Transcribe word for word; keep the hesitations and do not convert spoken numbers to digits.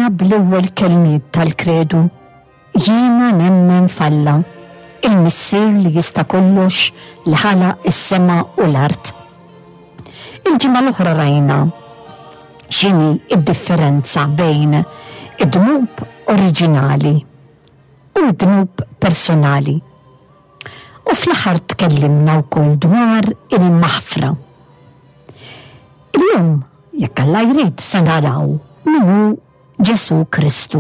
Bdejna bl-ewwel kelmiet tal-kredu. Jiena nemmen f'Alla, il-Missier li jista' kollox li ħalaq is-sema u l-art. Il-ġimgħa l-oħra rajna x'inhi id-differenza bejn id-dnub oriġinali u d-dnub personali. U fl-aħħar tkellimna wkoll dwar il-maħfra. Illum, jekk Alla jrid, se naraw min hu Ġesù Kristu.